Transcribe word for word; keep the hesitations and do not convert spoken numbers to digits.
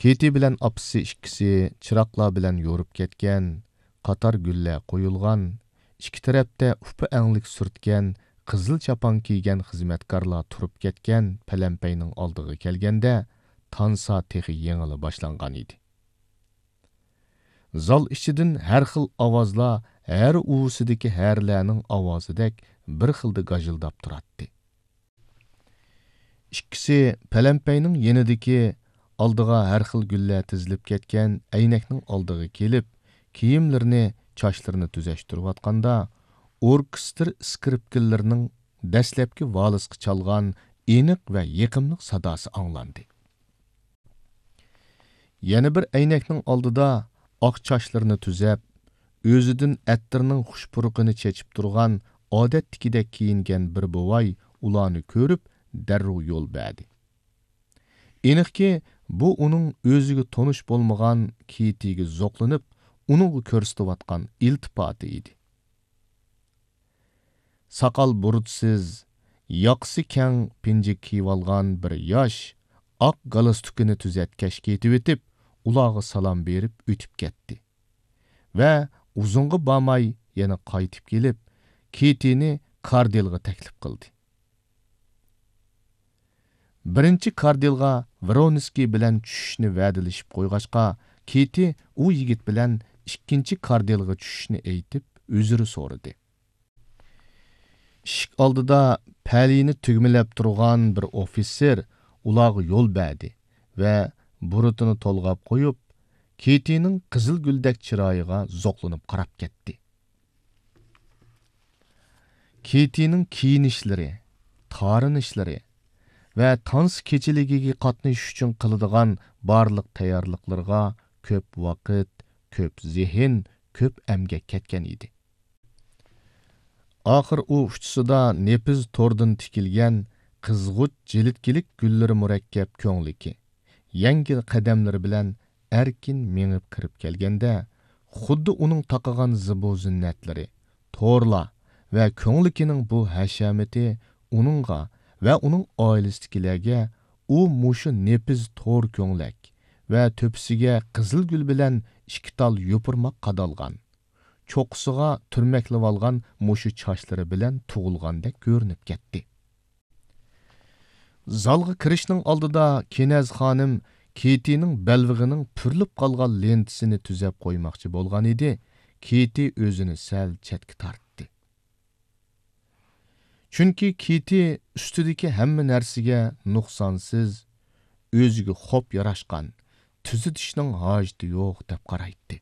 كېتى بىلەن ئاپىسى ئىككىسى چىراغلار بىلەن يورۇپ كەتكەن، قاتار گۈللەر قويۇلغان، ئىككى تەرەپتە ئۇپا ئەڭلىك سۈرتكەن، قىزىل چاپان كىيگەن خىزمەتكارلار تۇرۇپ كەتكەن پەلەمپەينىڭ ئالدىغا كەلگەندە، تانسا تېخى يېڭىلا باشلانغان ئىدى. زال ئىچىدىن ھەر خىل ئاۋازلار ھەر ئۇۋىسىدىكى ھەرىلەرنىڭ ئاۋازىدەك بىر خىلدا گاژىلداپ تۇراتتى. ئىككىسى پەلەمپەينىڭ يېنىدىكى ئالدىغا ھەر خىل گۈللەر تىزىلىپ كەتكەن ئەينەكنىڭ ئالدىغا كېلىپ، كىيىملىرىنى، چاچلىرىنى تۈزەشتۈرۈۋاتقاندا، ئوركېستىر ئىسكرىپكىلىرىنىڭ دەسلەپكى ۋالىسقا چالغان ئېنىق ۋە يېقىملىق ساداسى ئاڭلاندى. يەنە بىر ئەينەكنىڭ ئالدىدا ئاق چاچلىرىنى تۈزەپ، ئۆزىدىن ئەتىرنىڭ خۇش پۇرىقىنى چېچىپ تۇرغان، ئادەتتىكىدەك كىيىنگەن بىر بوۋاي ئۇلارنى كۆرۈپ، دەررۇ يول بەردى. ئېنىقكى، بۇ ئۇنىڭ ئۆزىگە تونۇش بولمىغان كېتىگە زوقلىنىپ، ئۇنىڭغا كۆرسىتىۋاتقان ئىلتىپاتى ئىدى. ساقال بۇرۇتسىز، ياقىسى كەڭ پىنجىك كىيىۋالغان بىر ياش ئاق گالستۇكىنى تۈزەتكەچ كېتىۋېتىپ، ئۇلارغا سالام بېرىپ ئۆتۈپ كەتتى ۋە ئۇزۇنغا بارماي يەنە قايتىپ كېلىپ، كېتىنى كاردىلغا تەكلىپ قىلدى. بىرىنچى كاردىلغا ۋرونسكىي بىلەن چۈشۈشنى ۋەدىلىشىپ قويغاچقا، كېتى ئۇ يىگىت بىلەن ئىككىنچى كاردىلغا چۈشۈشنى ئېيتىپ، ئۆزرە سورىدى. ئىشىك ئالدىدا پەلىنى تۈگمىلەپ تۇرغان بىر ئوفىتسېر ئۇلارغا يول بەردى ۋە بۇرۇتىنى تولغاپ قويۇپ، كېتىنىڭ قىزىل گۈلدەك چىرايىغا زوقلىنىپ قاراپ كەتتى. كېتىنىڭ كىيىنىشلىرى، تارىنىشلىرى ۋە تانسا كېچىلىكىگە قاتنىشىش ئۈچۈن قىلىدىغان بارلىق تەييارلىقلىرىغا كۆپ ۋاقىت، كۆپ زېھىن، كۆپ ئەمگەك كەتكەن ئىدى. ئاخىر ئۇ ئۇچىسىدا نېپىز توردىن تىكىلگەن قىزغۇچ جىلىتكىلىك گۈللىرى مۇرەككەپ كۆڭلىكى، يەڭگىل قەدەملىرى بىلەن ئەركىن مېڭىپ كىرىپ كەلگەندە، خۇددى ئۇنىڭ تاقىغان زىبۇ زىننەتلىرى، تورلار ۋە كۆڭلىكىنىڭ بۇ ھەشەمىتى ئۇنىڭغا ۋە ئۇنىڭ ئائىلىسىدىكىلەرگە ئۇ مۇشۇ نېپىز تور كۆڭلەك ۋە تۆپىسىگە قىزىل گۈل بىلەن ئىككى تال يوپۇرماق قادالغان، چوققىسىغا تۈرمەكلىۋالغان مۇشۇ چاچلىرى بىلەن تۇغۇلغاندەك كۆرۈنۈپ كەتتى. زالغا كىرىشنىڭ ئالدىدا كېنەز خانىم كېتىنىڭ بەلبېغىنىڭ پۈرۈلۈپ قالغان لېنتىسىنى تۈزەپ قويماقچى بولغان ئىدى، كېتى ئۆزىنى سەل چەتكە تارتتى. چۈنكى كېتى ئۈستىدىكى ھەممە نەرسىگە نۇقسانسىز، ئۆزىگە خوپ ياراشقان، تۈزىتىشنىڭ ھاجىتى يوق دەپ قارايتتى.